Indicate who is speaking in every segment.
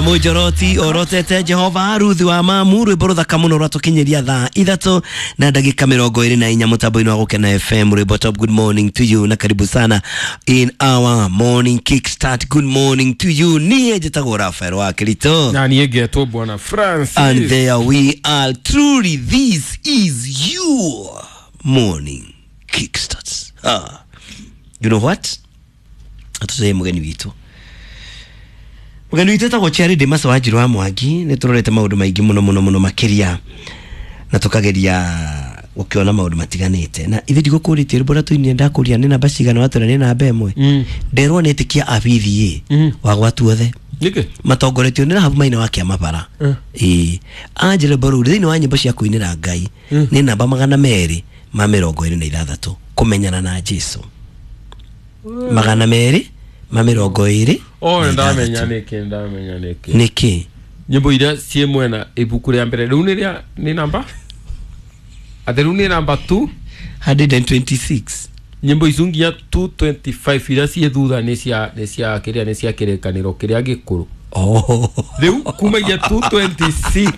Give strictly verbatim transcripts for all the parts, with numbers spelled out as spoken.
Speaker 1: Mũnjoroti orotete Jehova Ruthi wa mamu rwĩmbo rũthaka mũno rwatũkinyĩria thaa ithatũ na ndagĩka mĩrongo ĩrĩ na inya mũtambo-inĩ wa Gũkena F M. Rwĩmbo top. Good morning to you na karibu sana in our morning kickstart. Good morning to you. Niĩ njĩtagwo Rafael wa Kirito
Speaker 2: na niĩ ngetwo Bwana Francis,
Speaker 1: and there we are. Truly this is your morning kickstart. Ah, you know what, atũcee mũgeni witũ mugeni witũ etagwo Charity Masa wa Njirũ wa Mwangi. Nĩ tũrorete maũndũ maingĩ mũno mũno mũno makĩria na tũkageria gũkĩona maũndũ matiganĩte. Na ithe ndigũkũrĩtie rwĩmbo rũrĩa tũinire ndakũria nĩ namba cigana watwĩra nĩ namba ĩmwe. Nderwo nĩ ĩtĩkia a B V A wa gwatuothe
Speaker 2: nĩkĩ
Speaker 1: matongoretio nĩ Rahabu Maina wa kĩama bara. Ĩĩ Angela Mbaru thĩinĩ wa nyĩmbo cia kũinĩra Ngai nĩ namba magana merĩ ma mĩrongo ĩrĩ na ithathatũ kũmenyana na Jesu. Magana merĩ ma mĩrongo ĩrĩ.
Speaker 2: Oh, ndamenya nĩkĩ, ndamenya nĩkĩ.
Speaker 1: Nĩkĩ?
Speaker 2: Nyĩmbo iria ciĩ mwena ibuku rĩa mbere rĩu nĩ rĩa nĩ namba atĩ rĩu nĩ namba two
Speaker 1: hundred and twenty-six.
Speaker 2: Nyĩmbo icu nginya two twenty-five iria ciĩ thutha nĩ cia nĩ cia kĩrĩa nĩ cia kĩrĩkanĩro kĩrĩa gĩkũrũ.
Speaker 1: Oh.
Speaker 2: Rĩu kumagia two twenty-six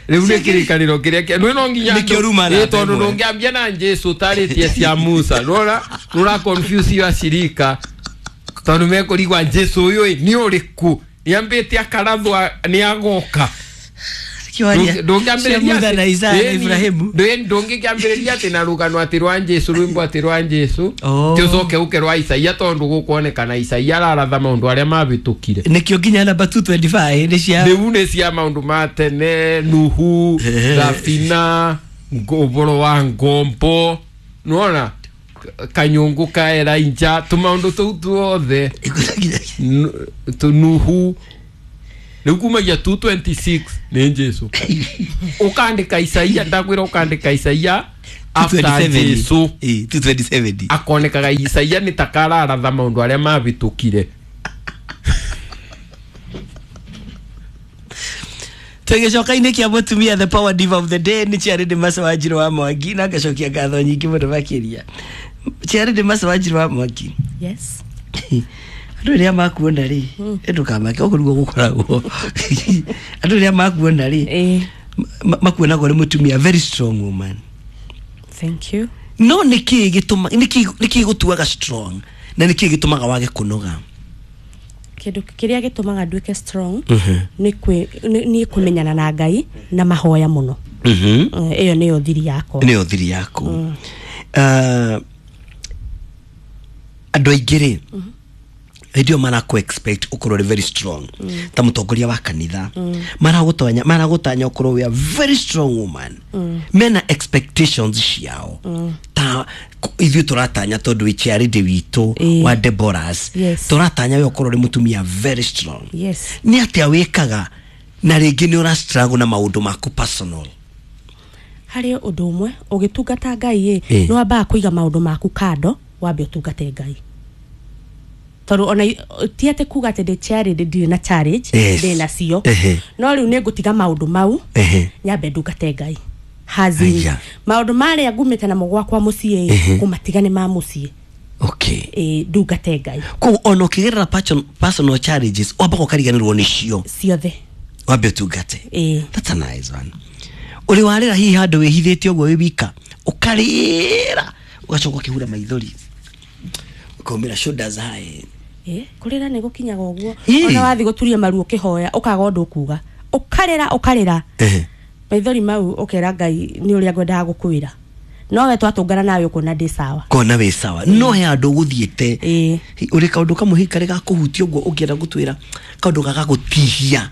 Speaker 2: rĩu nĩ kĩrĩkanĩro kĩrĩa kĩa nĩ no nginya
Speaker 1: Nĩkĩo ruma na
Speaker 2: ĩ tondũ
Speaker 1: ĩmwe.
Speaker 2: ndũngĩambia na Jesu ũtarĩtie cia Musa nĩwona nĩũra confuse acirika tondũ mekũrigwa Jesu ũyũ ĩ nĩ ũrĩkũ nĩambĩte akarathwa nĩagoka.
Speaker 1: Ndũngĩambĩrĩria
Speaker 2: atĩ-
Speaker 1: na Isaya na
Speaker 2: ĩni,
Speaker 1: Ibrahimu.
Speaker 2: ndũ- ndũngĩkĩambĩrĩria atĩ na rũgano atĩ rwa Jesu rwĩmbo atĩ rwa Jesu
Speaker 1: Oh.
Speaker 2: ti ũcoke ũke rwa Isaia tondũ gũkuonekana Isaia araratha maũndũ arĩa mabĩtũkire.
Speaker 1: Nĩkĩo nginya namba two twenty-five nĩ cia
Speaker 2: rĩu nĩ cia maũndũ ma tene Nuhu thabina ũboro wa ngombo nĩwona kanyũngũ ka Elijah tũmaũndũ tũu tuothe tu Nuhu rĩu kumagia two twenty-six nĩ Jesu ũkandĩka Isaia ndakwĩra ũkandĩka Isaia after Jesu
Speaker 1: Eh, two twenty-seven
Speaker 2: akonekaga Isaia nĩ ta kararatha maũndũ arĩa mabĩtũkire.
Speaker 1: Tũgĩcoka-inĩ kĩa mũtumia the power diva of the day nĩ Charity Masa wa Njirũ wa Mwangi na ngacokia ngatho nyingĩ mũno makĩria. Charity Masa wa Njirũ wa Mwangi.
Speaker 3: Yes.
Speaker 1: Andũ rĩrĩa makuona rĩ, ndũkamake ũguo nĩguo gũkoragwo. Andũ rĩrĩa makuona rĩ,
Speaker 3: Eh,
Speaker 1: makuonaga ũrĩ mũtumia very strong woman.
Speaker 3: Thank you.
Speaker 1: No nĩkĩĩ gĩtũma nĩkĩĩ nĩkĩĩ gũtuaga strong na nĩkĩĩ gĩtũmaga wage kũnoga?
Speaker 3: Kĩndũ kĩrĩa gĩtũmaga nduĩke strong nĩ kwĩ nĩ kũmenyana na Ngai na mahoya mũno.
Speaker 1: Mhm.
Speaker 3: Ĩyo nĩyo thiri yakwa.
Speaker 1: Nĩyo thiri yaku. Ah, andũ aingĩ rĩ hĩndĩ ĩyo marakũ expect ũkorwo ũrĩ very strong ta mũtongoria wa kanitha maragũtanya maragũtanya ũkorwo wĩ a very strong woman. Mena expectations ciao ta ithuĩ tũratanya tondũ wĩ Charity witũ wa Deborahs tũratanya we ũkorwo ũrĩ mũtumia very strong.
Speaker 3: Yes.
Speaker 1: Nĩ atĩa wĩkaga na rĩngĩ nĩ ũra struggle na maũndũ maku personal?
Speaker 3: Harĩ ũndũ ũmwe ũgĩtungata Ngai ĩ nĩ wambaga kũiga maũndũ maku kando wambe ũtungate Ngai. Tondũ ona ti atĩ kuga atĩ ndĩ Charity ndirĩ na challenge ndĩ nacio no rĩu nĩ ngũtiga maũndũ mau nyambe ndungate Ngai. Hazi maũndũ marĩa ngumĩte namo gwakwa mũciĩ kũmatiga nĩ ma mũciĩ.
Speaker 1: Okay.
Speaker 3: Ĩ ndungate Ngai.
Speaker 1: Koguo ona ũkĩgerera personal challenges wambaga ũkariganĩrwo nĩcio
Speaker 3: ciothe
Speaker 1: wambe ũtungate.
Speaker 3: Ĩ
Speaker 1: that's a nice one. Ũrĩ warĩra hihi handũ wĩhithĩte ũguo wĩ wika ũkarĩra ũgacoka ũkĩhura maithori ũkaumĩra shoulders high?
Speaker 3: Eh, kũrĩra nĩ gũkinyaga ũguo ona wathi gũturia maru ũkĩhoya ũkaga ũndũ ũkuga ũkarĩra ũkarĩra maithori mau ũkera Ngai nĩ ũrĩa ngwendaga gũkwĩra no we twatũngana nawe ũkuona ndĩ sawa
Speaker 1: kona wĩ sawa no he handũ ũgũthiĩte ũrĩ kaũndũ kamwe hihi karĩ gakũhutia ũguo ũngĩenda gũtwĩra kaũndũ gagagũtihia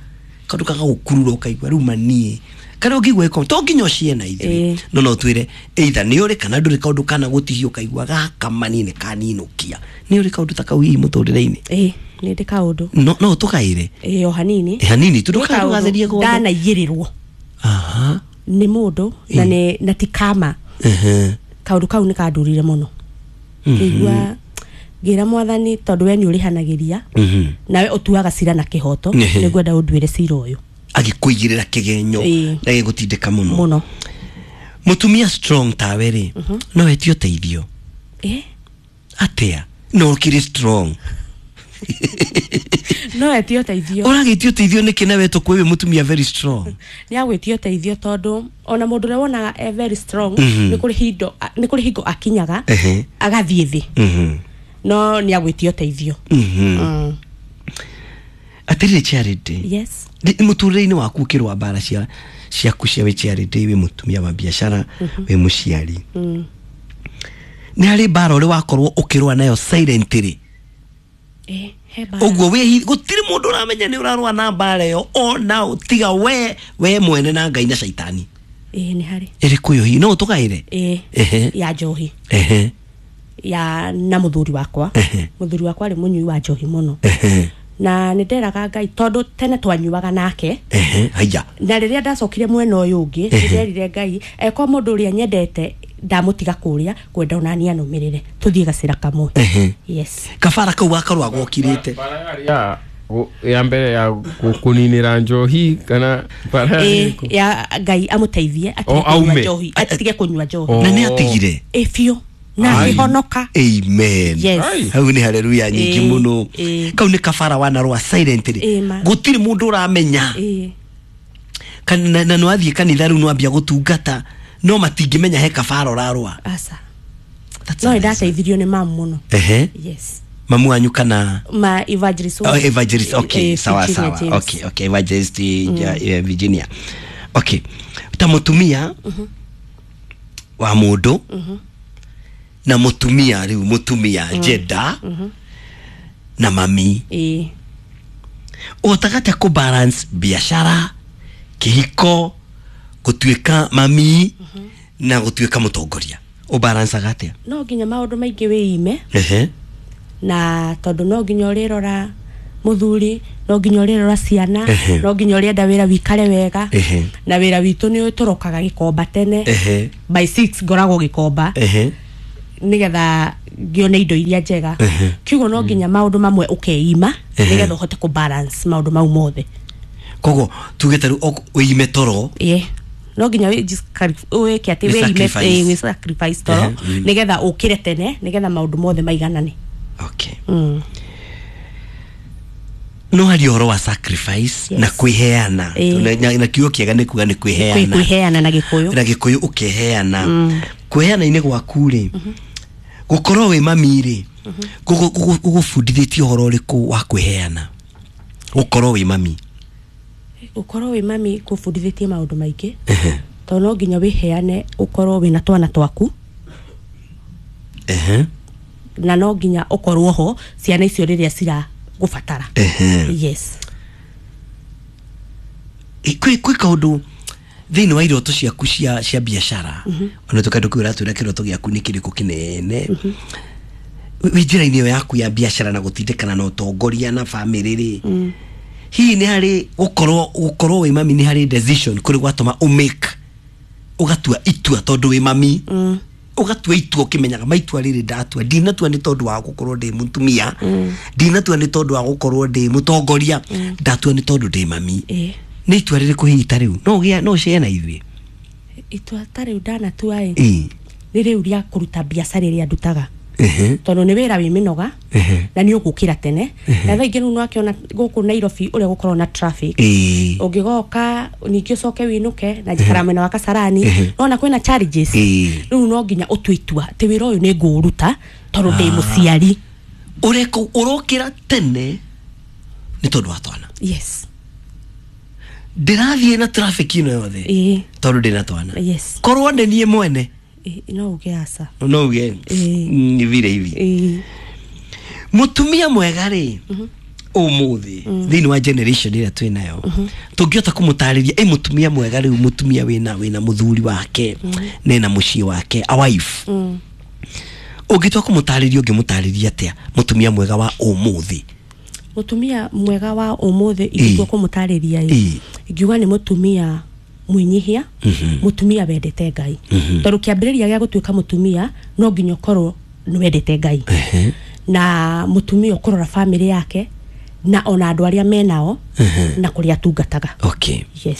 Speaker 1: kaũndũ gagagũkurura ũkaigua rĩu maniĩ kana ũngĩigua ĩko to nginya ũciĩ na ithuĩ no no twĩre either nĩ ũrĩ kana ndũrĩ kaũndũ kana gũtihia ũkaigua gaka manini kaninũkia nĩ ũrĩ kaũndũ ta kau hihi mũtũrĩre-inĩ?
Speaker 3: Ĩ nĩ ndĩ kaũndũ
Speaker 1: no no tũkaĩre
Speaker 3: ĩ o hanini
Speaker 1: ĩ hanini tu ndũkagathirie guothe
Speaker 3: ndanaiyĩrĩrwo
Speaker 1: aha
Speaker 3: nĩ mũndũ na nĩ na ti kama kaũndũ kau nĩ kandũrire mũno ngĩigua ngĩra mwathani tondũ we nĩ ũrĩhanagĩria nawe ũtuaga cira na kĩhoto nĩ ngwenda ũnduĩre cira ũyũ
Speaker 1: agĩkũigĩrĩra kĩgenyo na gĩgũtindĩka mũno
Speaker 3: mũno.
Speaker 1: Mũtumia strong tawe rĩ no etio ũteithio
Speaker 3: Eh
Speaker 1: atia no kiri strong.
Speaker 3: No etie ũteithio.
Speaker 1: Ũragĩtio ũteithio nĩkĩ na we tũkũĩ wĩ mũtumia very strong?
Speaker 3: Nĩ agwĩtio ũteithio tondũ ona mũndũ ũrĩa wonaga e very strong, nĩ kũrĩ hindo nĩ kũrĩ hingo akinyaga
Speaker 1: Ehe.
Speaker 3: agathiĩ thĩ.
Speaker 1: Mhm.
Speaker 3: No nĩ agwĩtio ũteithio.
Speaker 1: Mhm.
Speaker 3: Mm.
Speaker 1: Atĩrĩrĩ Charity,
Speaker 3: Yes.
Speaker 1: mũtũrĩre-inĩ waku ũkĩrũa mbara cia ciaku cia wĩ Charity, wĩ mũtumia wa biacara, wĩ mũciari,
Speaker 3: Mm.
Speaker 1: nĩ harĩ mbara ũrĩ wakorwo ũkĩrũa nayo silently?
Speaker 3: Eh, he mbara.
Speaker 1: Ũguo wĩ gũtirĩ mũndũ ũramenya nĩ ũrarũa na mbara ĩyo ona tiga we we mwene na Ngai na caitani.
Speaker 3: Ĩĩ, nĩ harĩ.
Speaker 1: Ĩrĩkũ ĩyo hihi no ũtũgaĩre?
Speaker 3: Ĩĩ.
Speaker 1: Ehe.
Speaker 3: Ya njohi.
Speaker 1: Ehe.
Speaker 3: Ya na mũthuri wakwa.
Speaker 1: Ehe.
Speaker 3: Mũthuri wakwa arĩ mũnyui wa njohi mũno.
Speaker 1: Ehe.
Speaker 3: Na nĩ nderaga Ngai tondũ tene twanyuaga nake.
Speaker 1: Ehe. Haya.
Speaker 3: Na rĩrĩa ndacokire mwena ũyũ ũngĩ,
Speaker 1: Ehe.
Speaker 3: nĩ nderire Ngai eko mũndũ ũrĩa nyendete ndamũtiga kũrĩa ngwenda onani anũmĩrĩre tũthiĩ gacĩra kamwe.
Speaker 1: Ehe.
Speaker 3: Yes.
Speaker 1: Kabara kau gakorwo agokirĩte.
Speaker 2: Bara yarĩ ya ya mbere ya kũninĩra njohi kana bara
Speaker 3: Ĩĩ,
Speaker 2: yarĩ
Speaker 3: ya Ngai amũteithie atige
Speaker 2: O,
Speaker 3: kũnyua
Speaker 2: aume.
Speaker 3: njohi, atige kũnyua njohi.
Speaker 2: O.
Speaker 1: Na nĩ atigire?
Speaker 3: Ĩ biũ na
Speaker 2: Ai.
Speaker 3: akĩhonoka.
Speaker 1: Amen.
Speaker 3: Yes.
Speaker 2: Ai.
Speaker 1: Hau nĩ haleluya nyingĩ
Speaker 3: Ĩĩ,
Speaker 1: mũno.
Speaker 3: ĩĩ.
Speaker 1: Kau nĩ kabara wanarũa silently.
Speaker 3: Ĩĩ, ma.
Speaker 1: Gũtirĩ mũndũ ũramenya.
Speaker 3: Ĩĩ.
Speaker 1: Kana na na nĩwathiĩ kanitha rĩu nĩwambia gũtungata no matingĩmenya he kabara ũrarũa.
Speaker 3: Aca.
Speaker 1: That's
Speaker 3: No nĩ
Speaker 1: amazing.
Speaker 3: ndateithirio nĩ mamu mũno.
Speaker 1: Ehe.
Speaker 3: Yes.
Speaker 1: Mamu wanyu kana?
Speaker 3: Ma evangelist.
Speaker 1: Oh, evangelist, okay.
Speaker 3: Eh,
Speaker 1: Sawa.
Speaker 3: Virginia
Speaker 1: Sawa.
Speaker 3: James.
Speaker 1: Okay, okay, evangelist mm. uh, Virginia. Okay, ta mutumia wa mundu na mutumia riu mutumia jenda na mami,
Speaker 3: Ĩĩ.
Speaker 1: ũhotaga atĩa kũ balance biashara, kĩhiko, gũtuĩka mami na gũtuĩka mũtongoria? Ũbalancaga atĩa?
Speaker 3: No nginya maũndũ maingĩ wĩime.
Speaker 1: Ehe.
Speaker 3: Na tondũ no nginya ũrĩrora mũthuri, no nginya ũrĩrora ciana,
Speaker 1: Ehe.
Speaker 3: no nginya ũrĩenda wĩra wikare wega.
Speaker 1: Ehe.
Speaker 3: Na wĩra witũ nĩ tũrokaga gĩkomba tene.
Speaker 1: Ehe.
Speaker 3: By six ngoragwo gĩkomba
Speaker 1: Ehe.
Speaker 3: nĩgetha ngĩone indo iria njega.
Speaker 1: Ehe.
Speaker 3: Kiugo no nginya maũndũ mamwe ũkeima
Speaker 1: Ehe.
Speaker 3: nĩgetha ũhote kũ balance maũndũ mau mothe.
Speaker 1: Koguo tuge ta rĩu ok- wĩime toro?
Speaker 3: Ĩĩ, no nginya wĩ- wĩke atĩ
Speaker 1: Wĩ
Speaker 3: wĩime.
Speaker 1: sacrifice.
Speaker 3: Ĩĩ, wĩ sacrifice toro
Speaker 1: Ehe, mm.
Speaker 3: nĩgetha ũkĩre tene nĩgetha maũndũ mothe maiganane.
Speaker 1: Okay.
Speaker 3: Mm.
Speaker 1: No hari ũhoro wa sacrifice
Speaker 3: Yes.
Speaker 1: na kwĩheana.
Speaker 3: Ĩĩ.
Speaker 1: Na- na, na kiugo kĩega nĩ kuga nĩ
Speaker 3: Kwĩ-
Speaker 1: kwĩheana.
Speaker 3: Kwĩheana na Gĩkũyũ.
Speaker 1: Na Gĩkũyũ ũkeheana. Kwĩheana-inĩ gwaku rĩ, gũkorwo wĩ mami rĩ, gũgũbundithĩtie ũhoro ũrĩkũ wa kwĩheana, gũkorwo wĩ mami?
Speaker 3: Gũkorwo wĩ mami kũbundithĩtie maũndũ maingĩ tondũ no nginya wĩheane ũkorwo wĩna twana twaku.
Speaker 1: Ehe.
Speaker 3: Na no nginya ũkorwo ho ciana icio rĩrĩa ciragũbatara.
Speaker 1: Ehe.
Speaker 3: Yes.
Speaker 1: Ĩ, kwĩ kwĩ kaũndũ thĩinĩ wa iroto ciaku cia cia biacara, ona tũkandũ kĩu ũratwĩra kĩroto gĩaku nĩ kĩrĩkũ kĩnene wĩ njĩra-inĩ ĩyo yaku ya biacara na gũtindĩkana na ũtongoria na bamĩrĩ rĩ, hihi nĩ harĩ gũkorwo gũkorwo wĩ mami, nĩ harĩ decision kũrĩ gwatũma ũmake ũgatua itua tondũ wĩ mami, ũgatua itua ũkĩmenyaga maitua rĩrĩ ndatua ndinatua nĩ tondũ wa gũkorwo ndĩ mũtumia, ndinatua nĩ tondũ wa gũkorwo ndĩ mũtongoria, ndatua nĩ tondũ ndĩ mami?
Speaker 3: Ĩĩ.
Speaker 1: Nĩ itua rĩrĩkũ hihi ta rĩu no ũgĩa no ũcee na ithuĩ?
Speaker 3: Itua ta rĩu ndanatua ĩ,
Speaker 1: Ĩĩ.
Speaker 3: nĩ rĩu rĩa kũruta biacara ĩrĩa ndutaga.
Speaker 1: Ehe.
Speaker 3: Tondũ nĩ wĩra wĩ mĩnoga
Speaker 1: Ehe.
Speaker 3: na nĩ ũgũkĩra tene na thaa ingĩ rĩu nĩwakĩona gũkũ Nairobi ũrĩa gũkorwo na traffic.
Speaker 1: Ĩĩ.
Speaker 3: Ũngĩgoka ningĩ ũcoke wĩinũke na njikara mwena wa Kasarani,
Speaker 1: Ehe.
Speaker 3: nona kwĩna challenges.
Speaker 1: Ĩĩ.
Speaker 3: Rĩu no nginya ũtue itua atĩ wĩra ũyũ nĩ ngũũruta tondũ ndĩ mũciari.
Speaker 1: Ũreka ũrokĩra tene nĩ tondũ wa twana?
Speaker 3: Yes.
Speaker 1: Ndĩrathiĩ na traffic ĩno yothe
Speaker 3: Ĩĩ.
Speaker 1: tondũ ndĩna twana?
Speaker 3: Yes.
Speaker 1: Korwo nĩ niĩ mwene?
Speaker 3: Ĩĩ, no uge aca.
Speaker 1: No uge
Speaker 3: Ĩĩ.
Speaker 1: ni vile hivi.
Speaker 3: Ĩĩ.
Speaker 1: Mũtumia mwega rĩ, ũmũthĩ thĩinĩ wa generation ĩrĩa twĩ nayo, tũngĩhota kũmũtarĩria ĩ mũtumia mwega rĩu, mũtumia wĩna wĩna mũthuri wake nena mũciĩ wake, a wife, ũngĩtua kũmũtarĩria ũngĩmũtarĩria atĩa mũtumia mwega wa ũmũthĩ?
Speaker 3: Mũtumia mwega wa ũmũthĩ ingĩtua kũmũtarĩria ĩ,
Speaker 1: Ĩĩ.
Speaker 3: ingiuga nĩ mũtumia mwĩnyihia, mũtumia wendete Ngai, tondũ kĩambĩrĩria gĩa gũtuĩka mũtumia no nginya ũkorwo nĩ wendete Ngai,
Speaker 1: Ehe.
Speaker 3: na mũtumia ũkũrora bamĩrĩ yake na ona andũ arĩa menao na kũrĩa atungataga.
Speaker 1: Okay.
Speaker 3: Yes.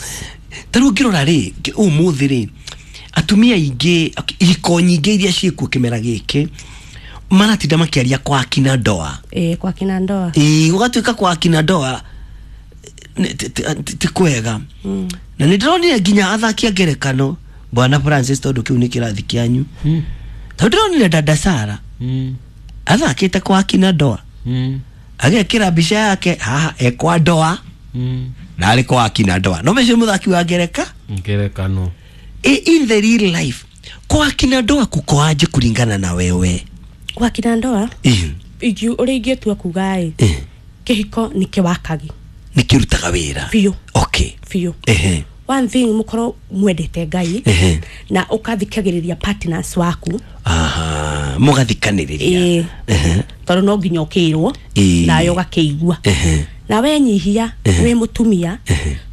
Speaker 1: Ta rĩu ũngĩrora rĩ, ũmũthĩ rĩ, atumia aingĩ, ihiko nyingĩ iria ciĩkuo kĩmera gĩkĩ, Maratinda makiaria kwa akina ndoa.
Speaker 3: Ĩĩ, kwa kina ndoa.
Speaker 1: Ĩĩ, gũgatuĩka kwa akina ndoa nĩ- ti- ti- ti kwega. Na nĩ ndĩronire nginya athaki a ngerekano, bwana Francis, tondũ kĩu nĩ kĩrathi kĩanyu,
Speaker 2: Mm.
Speaker 1: tondũ ndĩronire dada Sara
Speaker 2: Mm.
Speaker 1: athakĩte kwa akina ndoa,
Speaker 2: Mm.
Speaker 1: agekĩra mbica yake haha e kwa ndoa
Speaker 2: Mm.
Speaker 1: na arĩ kwa akina ndoa, no mecio mũthaki wa ngereka
Speaker 2: Ngerekano.
Speaker 1: E, in the real life kwa akina ndoa kuko aje kulingana na wewe?
Speaker 3: Kwa kina ndoa,
Speaker 1: Ĩĩ,
Speaker 3: ingi- ũrĩa ingĩtua kuga ĩ,
Speaker 1: ĩĩ,
Speaker 3: kĩhiko nĩ kĩwakagi.
Speaker 1: Nĩ kĩrutaga wĩra.
Speaker 3: Biũ.
Speaker 1: Okay.
Speaker 3: Biũ.
Speaker 1: Ehe.
Speaker 3: One thing, mũkorwo mwendete Ngai
Speaker 1: Ehe.
Speaker 3: na ũkathikagĩrĩria partners waku.
Speaker 1: Aha, mũgathikanĩrĩria.
Speaker 3: Ĩĩ.
Speaker 1: Ehe.
Speaker 3: Tondũ no nginya ũkĩrwo
Speaker 1: Ĩĩ.
Speaker 3: nawe ũgakĩigua.
Speaker 1: Ehe.
Speaker 3: Na wenyihia wĩ mũtumia,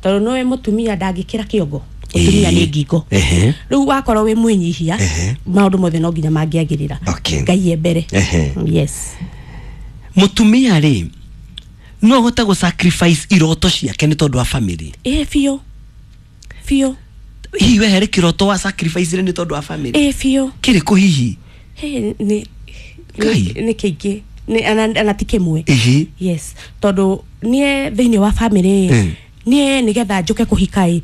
Speaker 3: tondũ no wĩ mũtumia ndangĩkĩra kĩongo, mũtumia nĩ ngingo.
Speaker 1: Ehe.
Speaker 3: Rĩu wakorwo wĩ mwĩnyihia,
Speaker 1: Ehe.
Speaker 3: maũndũ mothe no nginya mangĩagĩrĩra.
Speaker 1: Okay.
Speaker 3: Ngai e mbere.
Speaker 1: Ehe.
Speaker 3: Yes.
Speaker 1: Mũtumia rĩ, no ahote gũ sacrifice iroto ciake nĩ tondũ wa family?
Speaker 3: Ĩĩ, biũ biũ.
Speaker 1: Hihi we harĩ kĩroto wa sacrifice rĩ nĩ tondũ wa family?
Speaker 3: Ĩĩ, biũ.
Speaker 1: Kĩrĩkũ hihi?
Speaker 3: Hey, nĩ
Speaker 1: Ngai.
Speaker 3: nĩ nĩ kĩingĩ. Nĩ- ana ana ti kĩmwe.
Speaker 1: Ihi.
Speaker 3: Yes, tondũ niĩ thĩinĩ wa family,
Speaker 1: Mm.
Speaker 3: niĩ nĩgetha njũke kũhika ĩ,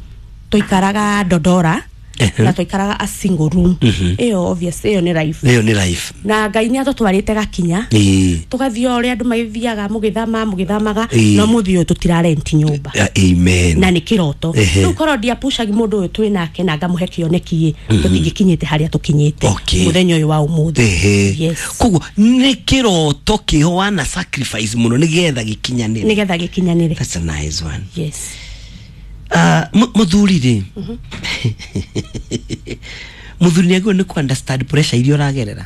Speaker 3: twaikaraga Dodora
Speaker 1: Ehe.
Speaker 3: na twaikaraga a single room. Ĩyo obvious, ĩyo nĩ life.
Speaker 1: Ĩyo nĩ life.
Speaker 3: Na Ngai nĩ atũtwarĩte gakinya,
Speaker 1: Ĩĩ.
Speaker 3: tũgathiĩ o ũrĩa andũ magĩthiaga mũgĩthama mũgĩthamaga.
Speaker 1: Ĩĩ.
Speaker 3: No mũthĩ ũyũ tũtirarenti nyũmba.
Speaker 1: Ah, amen.
Speaker 3: Na nĩ kĩroto.
Speaker 1: Ehe.
Speaker 3: Rĩu korwo ndiapucagi mũndũ ũyũ twĩ nake na ngamũhe kĩoneki ĩ, tũtingĩkinyĩte harĩa tũkinyĩte
Speaker 1: Okay.
Speaker 3: mũthenya ũyũ wa ũmũthĩ.
Speaker 1: Ehe.
Speaker 3: Yes.
Speaker 1: Koguo nĩ kĩroto kĩho wana sacrifice mũno nĩgetha gĩkinyanĩre.
Speaker 3: Nĩgetha gĩkinyanĩre.
Speaker 1: That's a nice one.
Speaker 3: Yes.
Speaker 1: Ah, mu- mũthuri rĩ, mũthuri nĩ agĩrĩirwo nĩ ku understand pressure iria ũragerera?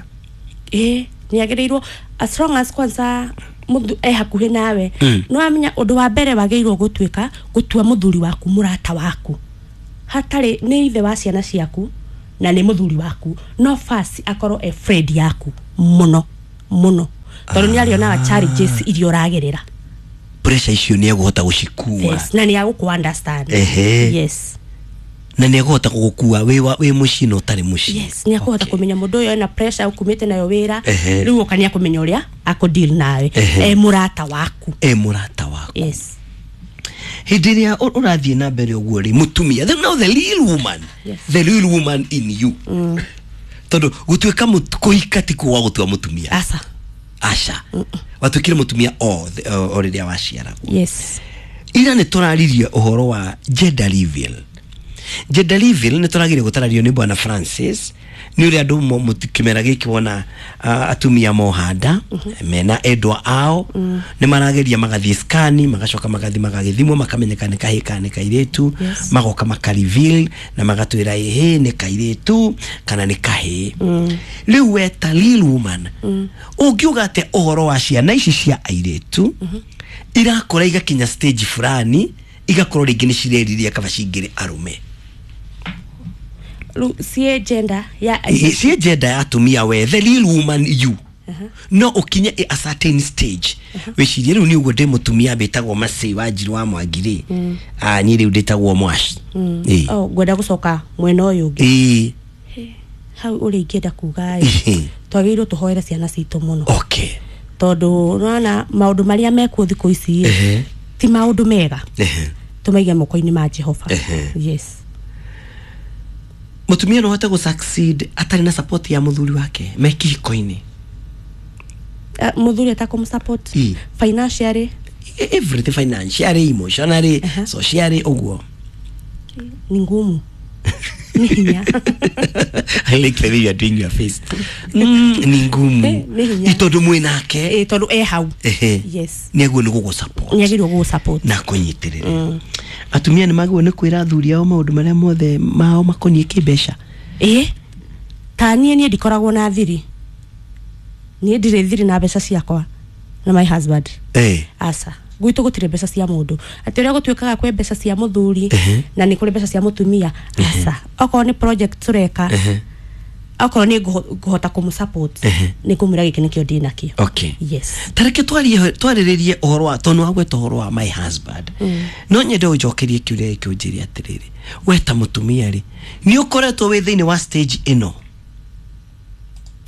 Speaker 3: Ĩĩ, nĩ agĩrĩirwo, as long as kwanza mũthu e hakuhĩ nawe.
Speaker 1: Mm.
Speaker 3: Nĩ wamenya ũndũ wa mbere wagĩrĩirwo gũtuĩka gũtua mũthuri waku mũrata waku, hatarĩ nĩ ithe wa ciana ciaku na nĩ mũthuri waku, no first akorwo e friend yaku mũno mũno, tondũ nĩ arĩonaga challenges iria ũragerera.
Speaker 1: Pressure icio nĩ egũhota gũcikua.
Speaker 3: Yes, na nĩ agũkũ understand.
Speaker 1: Ehe.
Speaker 3: Yes.
Speaker 1: Na nĩ egũhota gũgũkua wĩ wa- wĩ mũciĩ na ũtarĩ mũciĩ.
Speaker 3: Yes, nĩ akũhota
Speaker 1: Okay.
Speaker 3: kũmenya mũndũ ũyũ ena pressure ũkumĩte nayo wĩra.
Speaker 1: Ehe.
Speaker 3: Rĩu oka nĩ akũmenya ũrĩa akũ deal nawe.
Speaker 1: Ehe.
Speaker 3: E mũrata waku.
Speaker 1: E mũrata waku.
Speaker 3: Yes.
Speaker 1: Hĩndĩ ĩrĩa ũ- ũrathiĩ na mbere ũguo rĩ, mũtumia, the, now the real woman,
Speaker 3: Yes.
Speaker 1: the real woman in you, tondũ gũtuĩka mũt- kũhika ti kuga gũtua mũtumia.
Speaker 3: Aca.
Speaker 1: Aca, watuĩkire mũtumia o the- o o rĩrĩa waciaragwo.
Speaker 3: Yes.
Speaker 1: Ira nĩ tũraririe ũhoro wa gender reveal. Gender reveal nĩ tũragire gũtarario nĩ bwana Francis nĩ ũrĩa andũ mo- mũti- kĩmera gĩkĩ wona uh, atumia mohanda mena endwa ao nĩ marageria magathiĩ skani, magacoka magathiĩ magagĩthimwo, makamenyeka nĩ kahĩĩ kana nĩ kairĩtu.
Speaker 3: Yes.
Speaker 1: Magoka maka reveal na magatwĩra ĩhĩ nĩ kairĩtu kana nĩ kahĩĩ. Rĩu we ta real woman ũngiuga atĩa ũhoro wa ciana ici cia airĩtu irakũra igakinya stage fulani igakorwo rĩngĩ nĩ cireriria kaba cingĩrĩ arũme?
Speaker 3: Rĩu ciĩ gender ya
Speaker 1: I- ciĩ gender ya atumia, we the real woman you no ũkinye a certain stage wĩcirie rĩu nĩ ũguo ndĩ mũtumia mbĩtagwo Macĩ wa Njiru wa Mwangi rĩ, ah, niĩ rĩu ndĩtagwo Mwaci. Ĩĩ.
Speaker 3: Oh, ngwenda gũcoka mwena ũyũ ũngĩ.
Speaker 1: Ĩĩ.
Speaker 3: Hau ũrĩa ingĩenda kuga ĩ,
Speaker 1: Ĩhĩ.
Speaker 3: twagĩrĩirwo tũhoere ciana citũ mũno,
Speaker 1: okay
Speaker 3: tondũ nona maũndũ marĩa mekuo thikũ ici ĩ,
Speaker 1: Ehe.
Speaker 3: ti maũndũ mega.
Speaker 1: Ehe.
Speaker 3: Tũmaige moko-inĩ ma Jehova.
Speaker 1: Ehe.
Speaker 3: Yes.
Speaker 1: Mũtumia no ahote gũ succeed atarĩ na support ya mũthuri wake me kĩhiko-inĩ?
Speaker 3: Uh, mũthuri atakũmũsupport
Speaker 1: Ĩ.
Speaker 3: financially?
Speaker 1: Everything, financially, emotionally, socially ũguo.
Speaker 3: Ni ngumu, nĩ hinya.
Speaker 1: I like the way you are doing your face. Mm, ni ngumu.
Speaker 3: Eh, nĩ hinya.
Speaker 1: Tondũ mwĩ nake.
Speaker 3: Ĩ, tondũ e hau.
Speaker 1: Ehe.
Speaker 3: Yes.
Speaker 1: Nĩ aguo nĩ gũgũ support.
Speaker 3: Nĩ agĩrĩirwo gũgũ support.
Speaker 1: Na kũnyitĩrĩra. Atumia nĩ magĩrĩirwo nĩ kwĩra athuri ao maũndũ marĩa mothe mao makoniĩ kĩmbeca?
Speaker 3: Ĩ, ta niĩ niĩ ndikoragwo na thiri, niĩ ndirĩ thiri na mbeca ciakwa na my husband.
Speaker 1: Eh.
Speaker 3: Aca, gwitũ gũtirĩ mbeca cia mũndũ, atĩ ũrĩa gũtuĩkaga kwĩ mbeca cia mũthuri
Speaker 1: Ehe.
Speaker 3: na nĩ kũrĩ mbeca cia mũtumia, aca. Okorwo nĩ project tũreka,
Speaker 1: Ehe.
Speaker 3: okorwo nĩ ngũho- ngũhota kũmũ support,
Speaker 1: Ehe.
Speaker 3: nĩ ngũmwĩra gĩkĩ nĩkĩo ndĩ nakĩo.
Speaker 1: Okay.
Speaker 3: Yes.
Speaker 1: Tareke twarie twarĩrĩrie ũhoro wa, tondũ wagweta ũhoro wa my husband, no nyende ũnjokerie kĩũria gĩkĩ, ũnjĩre atĩrĩrĩ, we ta mũtumia rĩ, nĩ ũkoretwo wĩ thĩinĩ wa stage ĩno?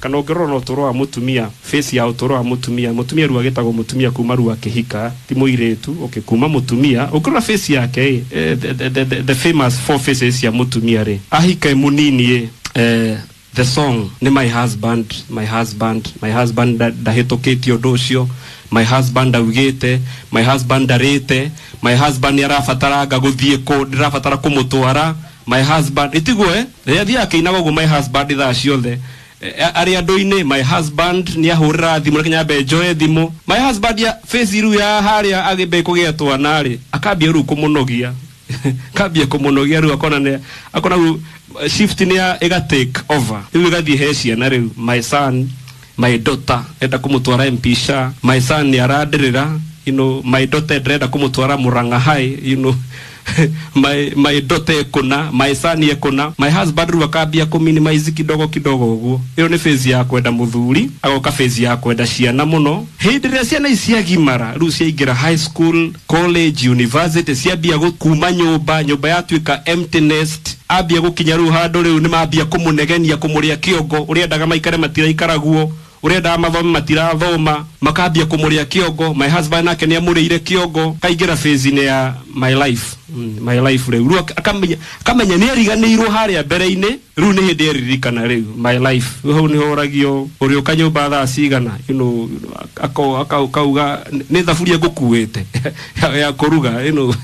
Speaker 4: Kana ũngĩrora na ũtũũro wa mũtumia, face ya ũtũũro wa mũtumia, mũtumia rĩu agĩtagwo mũtumia kuma rĩu akĩhika, ti mũirĩtu, okay, kuma mũtumia ũngĩrora face yake ĩ, eh, the, the, the, the, the famous four faces cia mũtumia rĩ, ahika e mũnini ĩ, eh, the song nĩ my husband, my husband, my husband ndahĩtũkĩtie ũndũ ũcio, my husband augĩte, my husband ndarĩte, my husband nĩ arabataranga gũthiĩ kũ, ndĩrabatara kũmũtwara, my husband ĩtiguo eh rĩrĩa athiaga akĩinaga ũguo my husband thaa ciothe. Eh, arĩ andũ-inĩ, my husband nĩ ahũrĩra thimũ, reke nyambe njoe thimũ, my husband ya face rĩu ya harĩa agĩmbe kũgĩa twana rĩ, akambia rĩu kũmũnogia, kambia kũmũnogia rĩu, akona nĩ akona rĩu shift nĩ ya ĩga take over rĩu, ĩgathiĩ he ciana rĩu, my son, my daughter enda kũmũtwara mpisha, my son nĩ arandĩrĩra, you know, my daughter ndĩrenda kũmũtwara Murang'a High, you know, my my daughter ekũna, my son ekũna, my husband rĩu akambia kũminimize kidogo kidogo ũguo. Ĩyo nĩ phase ya kwenda mũthuri, agoka phase ya kwenda ciana mũno. Hĩndĩ ĩrĩa ciana ici ciagimara rĩu, ciaingĩra high school, college, university, ciambia kuma nyũmba, nyũmba yatuĩka empty nest, ambia gũkinya rĩu handũ rĩu nĩ mambia kũmũnegenia, kũmũrĩa kĩongo, ũrĩa endaga maikare matiraikaragwo, ũrĩa endaga mathome matirathoma, makambia kũmũrĩa kĩongo. My husband nake nĩ amũrĩire kĩongo, kaingĩra phase-inĩ ya my life, mm, my life rĩu, rĩu akamenya akamenya nĩ ariganĩirwo harĩa mbere-inĩ, rĩu nĩ hĩndĩ eririkana rĩu my life. Rĩu hau nĩho ũragio ũrĩũka nyũmba thaa cigana, you know, akauga nĩ thaburia ngũkuĩte ya kũruga, you know,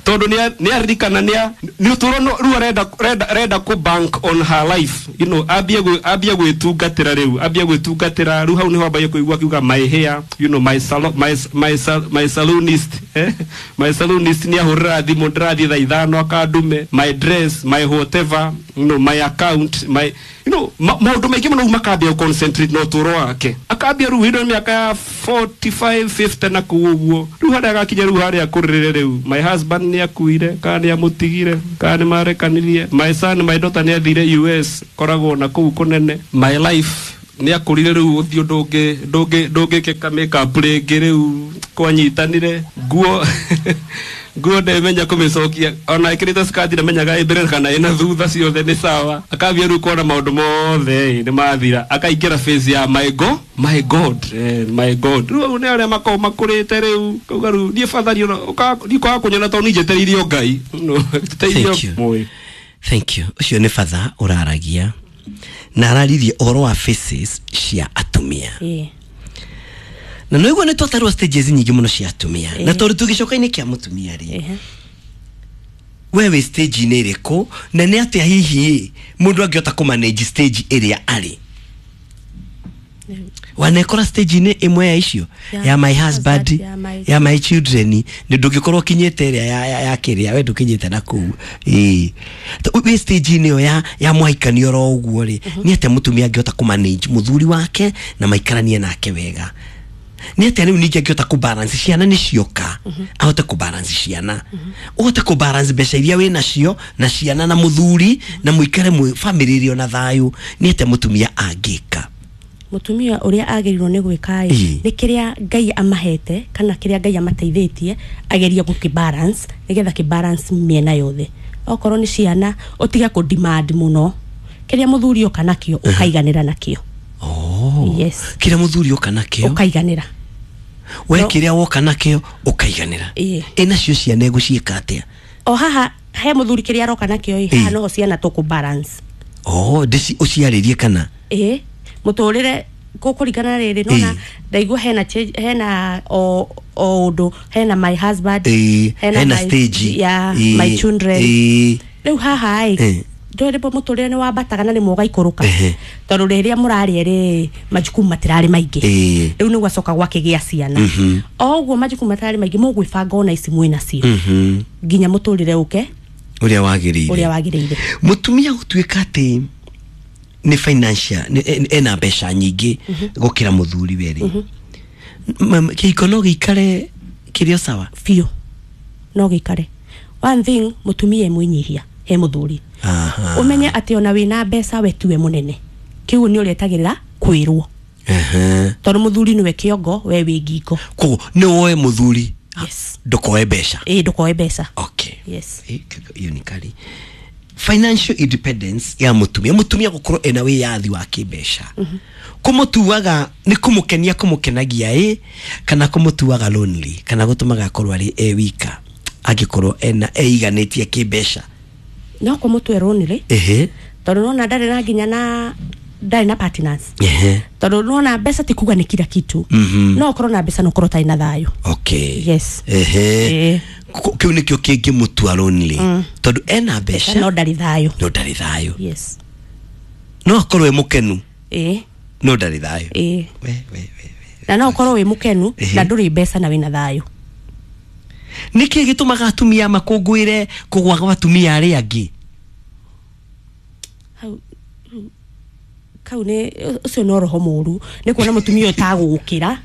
Speaker 4: tondũ nĩ aririkana nĩ nĩ ũtũũro rĩu arenda arenda kũ bank on her life, you know, ambie ambie gwĩtungatĩra rĩu, ambie gwĩtungatĩra rĩu, hau nĩho ambagia kũigua akiuga my hair, you know, my salon, my my my salonist, eh, my salonist nĩ ahũrĩra thimũ ndĩrathiĩ thaa ithano akandume, my dress, my whatever, you know, my account, my, you know, maũndũ maingĩ mũno makambia concentrate na ũtũũro wake, akambia rĩu hĩndĩ mĩaka ya forty-five fifty na kũu ũguo, rĩu harĩa agakinya rĩu harĩa akũrĩrĩre rĩu, my husband nĩ akuire kana nĩ amũtigire kana nĩ marekanirie, my son, my daughter nĩ athire U S koragwo na kũu kũnene, my life nĩ akũrire rĩu ũthiũ ndũngĩ ndũngĩ ndũngĩkĩka makeup rĩngĩ rĩu kwanyitanire nguo nguo ndemenya kũmĩcokia ona ĩkĩrĩte skati ndamenyaga ĩ mbere kana ĩna thutha, ciothe nĩ sawa, akambia rĩu kuona maũndũ mothe nĩ mathira, akaingĩra phase ya my god, my god, eh, my god, rĩu nĩ arĩa makoragwo makũrĩte rĩu kauga rĩu niĩ bathari niĩ kwaga kũnyona tondũ niĩ njetereire o Ngai, njetereire o.
Speaker 1: Thank you. Ũcio nĩ batha ũraragia na araririe ũhoro wa faces cia atumia. Na no igua nĩ twatarwo stages nyingĩ mũno cia atumia, na tondũ tũgĩcoka-inĩ kĩa mũtumia rĩ, we wĩ stage-inĩ ĩrĩkũ na nĩ atĩa hihi mũndũ angĩhota kũ manage stage ĩrĩa arĩ? Wanekora stage-inĩ ĩmwe ya icio ya my husband, ya my children, nĩ ndũngĩkorwo ũkinyĩte ĩrĩa ya ya kĩrĩa we ndũkinyĩte na kũu, ĩĩ wĩ stage-inĩ ĩyo ya ya mũhaikanio oro ũguo rĩ, nĩ atĩa mũtumia angĩhota kũ manage mũthuri wake na maikaranie nake wega? Nĩ atĩa rĩu ningĩ angĩhota kũ balance ciana nĩ cioka, ahote kũ balance ciana, ũhote kũ balance mbeca iria wĩ nacio na ciana na mũthuri na mũikare family ĩrĩ ona thayũ, nĩ atĩa mũtumia angĩka?
Speaker 3: Mũtumia ũrĩa agĩrĩirwo nĩ gwĩka ĩ nĩ kĩrĩa Ngai amahete kana kĩrĩa Ngai amateithĩtie agerie gũkĩ balance nĩgetha kĩ balance mĩena yothe. Okorwo nĩ ciana ũtige kũ demand mũno, kĩrĩa mũthuri oka nakĩo ũkaiganĩra nakĩo.
Speaker 1: Oh,
Speaker 3: yes,
Speaker 1: kĩrĩa mũthuri oka nakĩo
Speaker 3: ũkaiganĩra,
Speaker 1: we kĩrĩa woka nakĩo ũkaiganĩra. Ĩ nacio ciana egũciĩka atĩa?
Speaker 3: O haha he mũthuri kĩrĩa aroka nakĩo ĩ haha noho ciana tũkũ balance.
Speaker 1: Oh, ndĩci ũciarĩrie kana?
Speaker 3: Ĩ mũtũrĩre kũkũringana rĩrĩ nona ndaigua hena hena o o ũndũ, hena my husband,
Speaker 1: hena stage
Speaker 3: ya my children. Rĩu haha ĩ ndũrĩ bo mũtũrĩre nĩ wambataga na rĩmwe ũgaikũrũka, tondũ rĩrĩa mũrarĩa rĩ majukumu matirarĩ maingĩ, rĩu nĩ gwacoka gwakĩgĩa ciana, o ũguo majukumu matirarĩ maingĩ mũgwĩbanga ona ici mwĩ nacio nginya mũtũrĩre ũke
Speaker 1: ũrĩa wagĩrĩire,
Speaker 3: ũrĩa wagĩrĩire.
Speaker 1: Mũtumia gũtuĩka atĩ nĩ financial ena mbeca nyingĩ gũkĩra mũthuri werĩ, kĩhiko no gĩikare kĩrĩ o sawa?
Speaker 3: Biũ no gĩikare. One thing, mũtumia e mwĩnyihia he mũthuri, ũmenye atĩ ona wĩna mbeca we tiwe mũnene, kĩu nĩ ũretagĩrĩra kwĩrwo, tondũ mũthuri nĩwe kĩongo, we wĩ ngingo.
Speaker 1: Koguo nĩ woe mũthuri,
Speaker 3: yes,
Speaker 1: ndũkoe mbeca.
Speaker 3: Ĩ ndũkoe mbeca.
Speaker 1: Okay,
Speaker 3: yes,
Speaker 1: hiyo ni kali. Financial independence ya mutumia, mutumia gukorwo ena wiyathi wa kimbeca, kumutuaga ni kumukenia kumukenagia i kana kumutuaga lonely kana gutumaga akorwo ari e wika angikorwo ena eiganitie kimbeca?
Speaker 3: No kumutue lonely.
Speaker 1: Ehe.
Speaker 3: Tondu nona ndari na nginya na ndari na partners.
Speaker 1: Ehe.
Speaker 3: Tondu nona mbeca ti kuga ni kila kitu.
Speaker 1: Mm-hmm.
Speaker 3: No ukorwo na mbeca no ukorwo utari na thayo.
Speaker 1: Okay.
Speaker 3: Yes.
Speaker 1: Ehe.
Speaker 3: Eh.
Speaker 1: Kiu nikio kingimutua lonely.
Speaker 3: Mm.
Speaker 1: Tondu ena mbeca
Speaker 3: no ndari thayo.
Speaker 1: No ndari thayo.
Speaker 3: Yes.
Speaker 1: No akorwo e mukenu.
Speaker 3: Eh.
Speaker 1: No ndari thayo.
Speaker 3: Eh.
Speaker 1: We we we.
Speaker 3: Na no ukorwo wi mukenu
Speaker 1: Ehe.
Speaker 3: na nduri mbeca na wina thayo.
Speaker 1: Niki gitumaga atumia makungwire kugwa gwa atumia aria angi?
Speaker 3: Hau kau ni ucio no roho muru ni kuona mutumia utagukira